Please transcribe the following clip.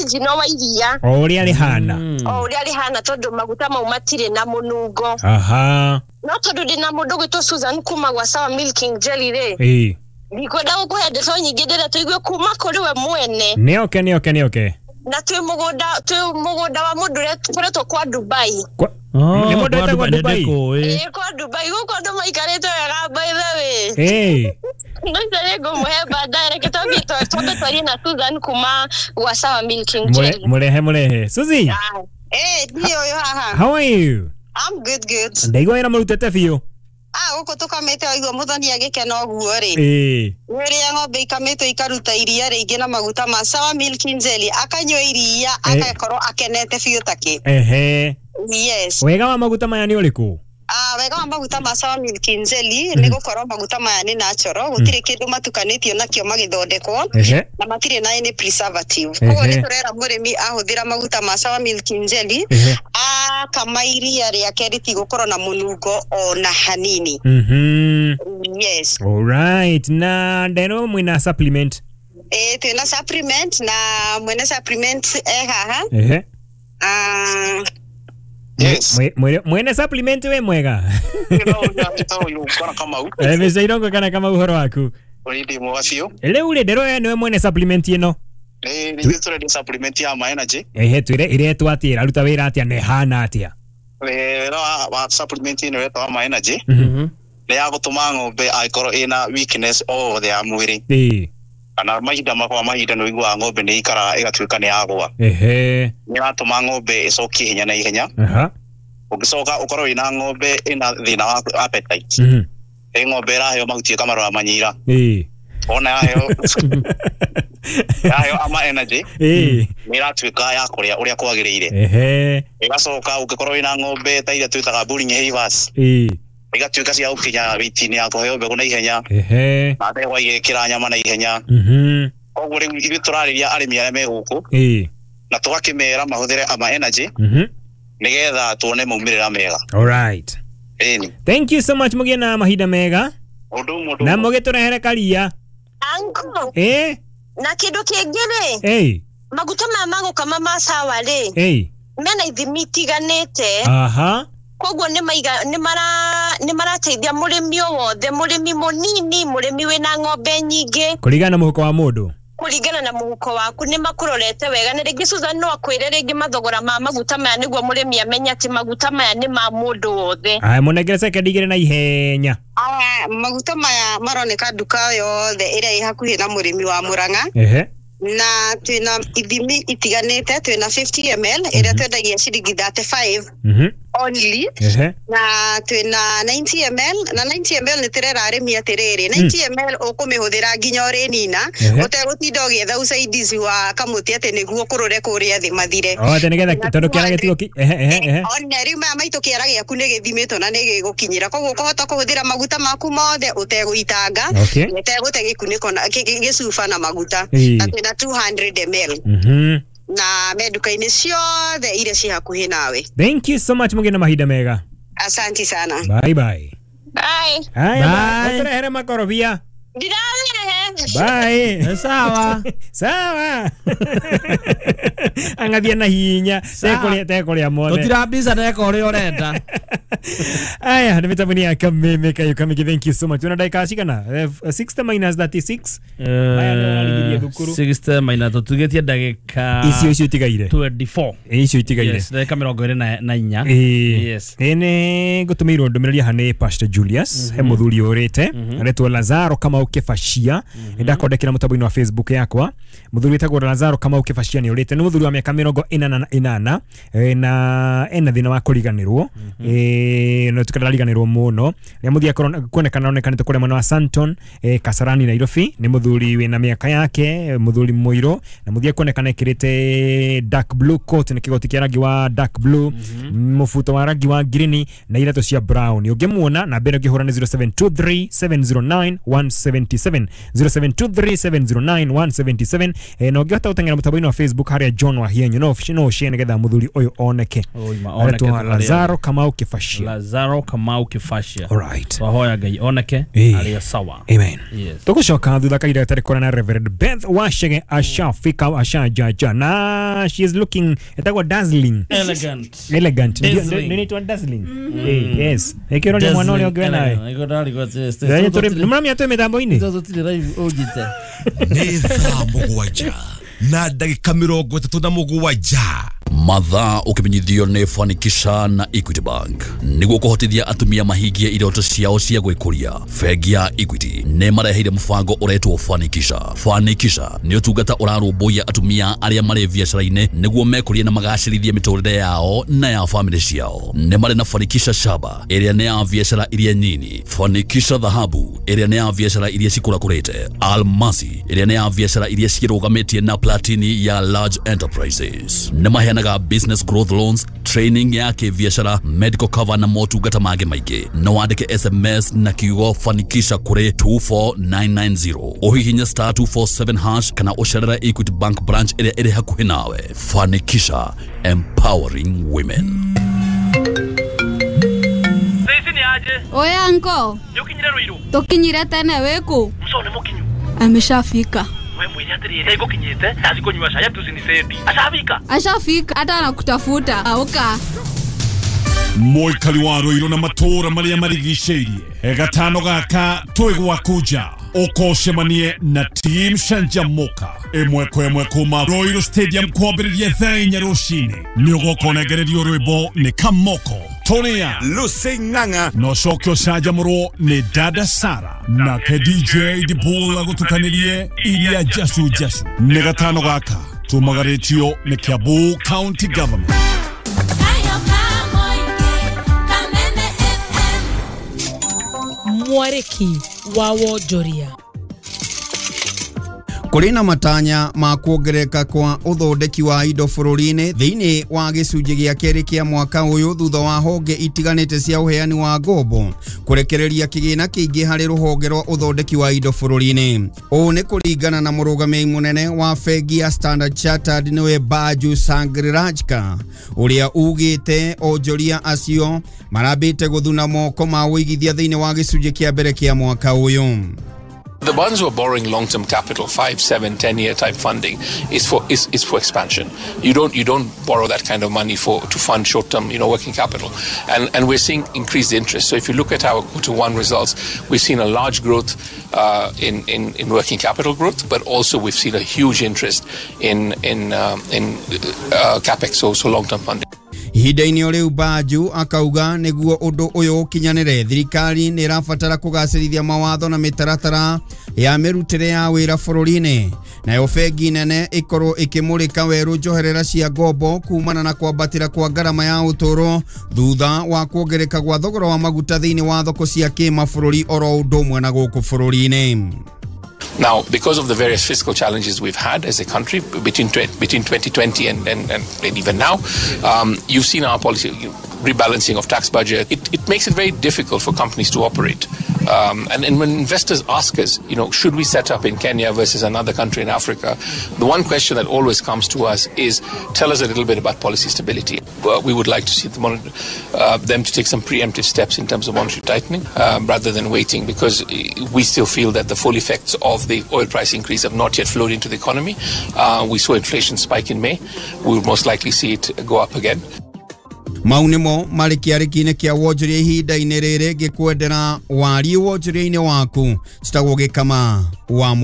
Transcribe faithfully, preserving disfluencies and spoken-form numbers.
Original wa iria. O ũrĩa rĩhana. O ũrĩa rĩhana tondũ maguta mau matirĩ na mũnungo. Aha. No tondũ ndĩna mũndũ gwĩtwo Susan kuma gwa Sawa Milking Jelly rĩ. Ĩĩ. Ndikwenda gũkũhe ndeto nyingĩ ndĩrenda tũigue kuma kũrĩ we mwene. Nĩ oke nĩ oke nĩ oke. Na twĩ mũgũnda twĩ mũgũnda wa mũndũ ũrĩa tũkoretwo kwa Dubai. Kwa nĩ mũndũ wĩtagwo Dubai. Ĩĩ kwa Dubai gũkũ andũ maikarĩte wega by the way. Ĩĩ. No nĩ ngũmũhe baadaye reke twambie twambe twarie na Susan kuma gwa Sawa Milking Jelly. Mũrehe mũrehe. Suzy. Eh, ndiyo yo haha. How are you? I'm good good. Ndaigua wĩra mũrutĩte biũ. Ah, gũkũ tũkamĩte waigua mũthoni agĩkena ũguo rĩ. Ĩĩ. Rĩrĩa ng'ombe ikamĩtwo ikaruta iria rĩingĩ na maguta ma Sawa Milking Jelly, akanyua iria agakorwo akenete biũ takĩ. Ehe. Yes. Wega wa maguta maya nĩ ũrĩkũ? Ah, wega wa maguta ma Sawa Milking Jelly nĩ gũkorwo maguta maya nĩ natural, gũtirĩ kĩndũ matukanĩtio nakĩo magĩthondekwo na matirĩ na any preservative. Koguo nĩ tũrera mũrĩmi ahũthĩra maguta ma Sawa Milking Jelly akama iria rĩake rĩtigũkorwo na mũnungo ona hanini. Mhm. Yes. All right. Na ndero mwina supplement. Eh, twina supplement na mwene supplement eh haha. Ehe. Ah, yes. Mwene supplement we mwega. Eh, Mister Irongo kana kama uhoro waku. Uri mwega biũ. Rĩu rĩ ndero we niwe mwene supplement ĩno. Eh, nĩ tũrendia supplement ya ma energy. Ehe, twĩre iretwo atĩa, ĩraruta wĩra atĩa na ĩhana atĩa? Wĩra wa supplement ĩno ĩretwo ma energy. Mhm. Nĩ ya gũtũma ng'ombe angĩkorwo ĩna weakness o wothe ya mwĩrĩ. Ĩĩ. Kana mahinda makwa mahinda nĩ ũiguaga ng'ombe nĩ ikaraga ĩgatuĩka nĩ yagũa. Ehe. Nĩ ĩratũma ng'ombe ĩcokie hinya na ihenya. Aha. Ũngĩcoka ũkorwo wĩna ng'ombe ĩna thĩna wa appetite. Mhm. Ĩ ng'ombe ĩraheo mahuti ĩkamarora manyira. Ĩĩ. Ona yaheo yaheo ama energy. Ĩĩ. Nĩ ĩratuĩka ya kũrĩa ũrĩa kwagĩrĩire. Ehe. Ĩgacoka ũngĩkorwo wĩna ng'ombe ta iria twĩtaga bullying heifers. Ĩĩ. Igatuĩka cia gũkinya weight-inĩ ya kũheo mbegũ na ihenya. Ehe. Na ndegwa igekĩra nyama na ihenya. Mhm. Koguo rĩu ithuĩ tũrarĩria arĩmi arĩa me gũkũ. Ĩĩ. Na tũgakĩmera mahũthĩre ama energy. Mhm. Nĩgetha tuone maumĩrĩra mega. All right. Ĩni. Thank you so much mũgĩe na mahinda mega. Ũndũ ũmwe ũndũ Na ũmwe. mũgĩtũrehere karia. Uncle. Ĩĩ. Na kĩndũ kĩngĩ rĩ. Ĩĩ. Maguta maya ma gũkama ma Sawa rĩ. Ĩĩ. Mena ithimi itiganĩte. Aha. Koguo nĩ maiga nĩ mara nĩ marateithia mũrĩmi o wothe, mũrĩmi mũnini, mũrĩmi wĩna ng'ombe nyingĩ. Kũringana na mũhuko wa mũndũ. Kũringana na mũhuko waku nĩ makũrorete wega na rĩngĩ Susan no akwĩre rĩngĩ mathogora ma maguta maya nĩguo mũrĩmi amenye atĩ maguta maya nĩ ma mũndũ wothe. Aya mũnengere sekendi igĩrĩ na ihenya. Aya maguta maya maroneka nduka yothe ĩrĩa ĩ hakuhĩ na mũrĩmi wa Murang'a. Ehe. Na twina ithimi itiganĩte, twina fifty milliliters ĩrĩa twendagia ciringi thirty-five Mhm. only. Ehe. Na twina ninety milliliters na ninety milliliters nĩ tũrera arĩmi atĩrĩrĩ ninety milliliters ũkũmĩhũthĩra nginya ũrĩnina ũtegũtinda ũgĩetha usaidizi wa kamũtĩ atĩ nĩguo kũrũre kũrĩa thĩ mathire. Oh, atĩ nĩgetha tondũ kĩara gĩtigũ ehe ehe ehe. Ona rĩu maya maitũ kĩara gĩaku nĩ gĩthimĩtwo na nĩ gĩgũkinyĩra koguo ũkũhota kũhũthĩra maguta maku mothe ũtegũitanga ũtegũte gĩkunĩko na gĩcuba na maguta. Na twina two hundred milliliters. Mhm. Na me nduka-inĩ ciothe iria ci hakuhĩ nawe. Thank you so much mũgĩe na mahinda mega. Asante sana. Bye bye. Bye. Haya, bye. Ũtũrehere makorobia. Ndirarehe. Bye. Sawa. Sawa. Angathia na hinya tekũrĩa tekũrĩa mothe. Tũtirambica neka ũrĩa ũrenda. Aya, nĩ mĩtambo-inĩ ya Kameme Kayo Kamiki, thank you so much. Una dakika cigana? sixty minus thirty-six. Maya nĩ ũrarigirie thukuru. sixty minus tũtugĩtie ndagĩka icio icio itigaire. twenty-four. Icio itigaire. Yes, ndagĩka mĩrongo ĩrĩ na na inya. Yes. Ĩ nĩ ngũtũmĩirwo ndũmĩrĩri haha nĩ Pastor Julius, he mũthuri ũrĩte, aretwo Lazaro Kamau Kĩbacia. Nĩndakondekera mũtambo-inĩ wa Facebook yakwa. Mũthuri wĩtagwo Lazaro Kamau Kĩbacia nĩ ũrĩte, nĩ mũthuri wa mĩaka mĩrongo ĩnana na ĩnana na ena thĩna wa kũriganĩrwo. Eh, no tukariganĩrwo mũno. Nĩ mũthia kuonekana onekanĩte kũrĩa mwena wa Santon, eh, Kasarani Nairobi. Nĩ mũthuri wĩna mĩaka yake, mũthuri mũirũ, na mũthia kuonekana ekĩrĩte dark blue coat, nĩ kĩgoti kĩa rangi wa dark blue, mũbuto wa rangi wa green na iratũ cia brown. Ũngĩmuona na mbere ũngĩhũra nĩ zero seven two three seven zero nine one seven seven, zero seven two three seven zero nine one seven seven. Eh, na ũngĩhota gũteng'era mũtambo-inĩ wa Facebook harĩa John Wahienyu, no no ũshare nĩgetha mũthuri ũyũ oneke. Oneke Lazaro Kamau Kĩbacia. Kĩbacia. Lazaro Kamau Kĩbacia. All right. Twahoya Ngai oneke Ĩĩ. arĩ sawa. Amen. Yes. Tugucoka thutha kahinda gatarĩ kũraya na Reverend Beth Wachege ashafika ashajaja na she is looking etagwo dazzling. Elegant. Elegant. Ndio- Dazzling. ndio inaitwa dazzling. Eh, yes. Ĩkĩroria mwana ũrĩa ũngĩ we nawe. Nĩ tũrĩ- nĩ mũramenya twĩ mĩtambo-inĩ. Nĩ thaa mũgwanja na ndagĩka mĩrongo ĩtatũ na mũgwanja. Mathaa ũkĩmenyithio nĩ Fanikisha na Equity Bank nĩguo kũhotithia atumia mahingie iroto ciao cia gwĩkũria. Bengi ya Equity nĩ mareheire mũbango ũretwo Fanikisha. Fanikisha nĩ ũtungata ũrarũmbũiya atumia arĩa marĩ biacara-inĩ nĩguo mekũrie na magacĩrithie mĩtũrĩre yao na ya famĩlĩ ciao. Nĩ marĩ na Fanikisha Shaba ĩrĩa nĩ ya biacara iria nyini, Fanikisha Dhahabu ĩrĩa nĩ ya biacara iria cikũrakũrĩte, Almasi ĩrĩa nĩ ya biacara iria cirũgamĩtie na Platini ya large enterprises. Nĩ maheanaga business growth loans, training ya kĩbiacara, medical cover na motungata mangĩ maingĩ. No wandĩke S M S na kiugo Fanikisha kũrĩ two four nine nine zero, ũhihinye star two four seven hash kana ũcerere Equity Bank branch ĩrĩa ĩrĩ hakuhĩ nawe. Fanikisha, empowering women. Oya anko, tũkinyire tene wĩkũ? Ameshafika. Ashafika hata anakutafuta. Auka. Mũikari wa Ruiru na matũũra marĩa marigicĩirie gatano gaka twĩ gwaku nja ũkocemanie na Team Canjamuka ĩmwe kwa ĩmwe kuma Ruiru Stadium kwambĩrĩria thaa inya rũcinĩ. Nĩ ũgoka ũnengererio rwĩmbo nĩ Kamoko Tonia Lucy Ng'ang'a na ũcoke ũcanjamũrwo nĩ Dada Sara nake D J Dibul agũtukanĩrie iria jacu jacu. Nĩ gatano gaka tumagarĩtio nĩ Kiambu County Government. Mwarĩki wa wonjoria. Kũrĩ na matanya ma kuongerereka kwa ũthondeki wa indo bũrũri-inĩ thĩinĩ wa gĩcunjĩ gĩa kerĩ kĩa mwaka ũyũ thutha wa honge itiganĩte cia ũheani wa ngombo kũrekereria kĩgĩna kĩingĩ harĩ rũhonge rwa ũthondeki wa indo bũrũri-inĩ. Ũũ nĩ kũringana na mũrũgamĩrĩri mũnene wa bengi ya Standard Chartered nĩwe Baju Sangrirajka ũrĩa ugĩte onjoria acio marambĩte gũthuna moko ma ũigithia thĩinĩ wa gĩcunjĩ kĩa mbere kĩa mwaka ũyũ. The bonds who are borrowing long-term capital, five, seven, ten-year type funding, is for is, is for expansion. You don't you don't borrow that kind of money for to fund short-term, you know, working capital, and and we're seeing increased interest. So if you look at our quarter one results, we've seen a large growth uh, in, in in working capital growth, but also we've seen a huge interest in in um, in uh, capex, so so long-term funding. Ihinda-inĩ o rĩu Baju akauga nĩguo ũndũ ũyũ ũkinyanĩre thirikari nĩ ĩrabatara kũgacĩrithia mawatho na mĩtaratara ya mĩrutĩre ya wĩra bũrũri-inĩ nayo bengi nene ĩkorwo ĩkĩmũrĩka werũ njoherera cia ngombo kumana na kwambatĩra kwa ngarama ya ũtũũro thutha wa kuongereka gwa thogora wa maguta thĩinĩ wa thoko cia kĩmabũrũri oro ũndũ ũmwe na gũkũ bũrũri-inĩ. Now, because of the various fiscal challenges we've had as a country between between twenty twenty and, and, and even now, um, you've seen our policy rebalancing of tax budget. It, it makes it very difficult for companies to operate. Um, and, and when investors ask us, you know, should we set up in Kenya versus another country in Africa, the one question that always comes to us is, tell us a little bit about policy stability. Well, we would like to see the monitor, uh, them to take some preemptive steps in terms of monetary tightening, um, rather than waiting, because we still feel that the full effects of the oil price increase have not yet flowed into the economy. Uh, we saw inflation spike in May. We will most likely see it go up again. Mau nĩmo marĩ kĩarĩki-inĩ kĩa wonjoria ihinda-inĩ rĩrĩ ngĩkwendera wariĩ wonjoria-inĩ waku citagwo gĩkama wa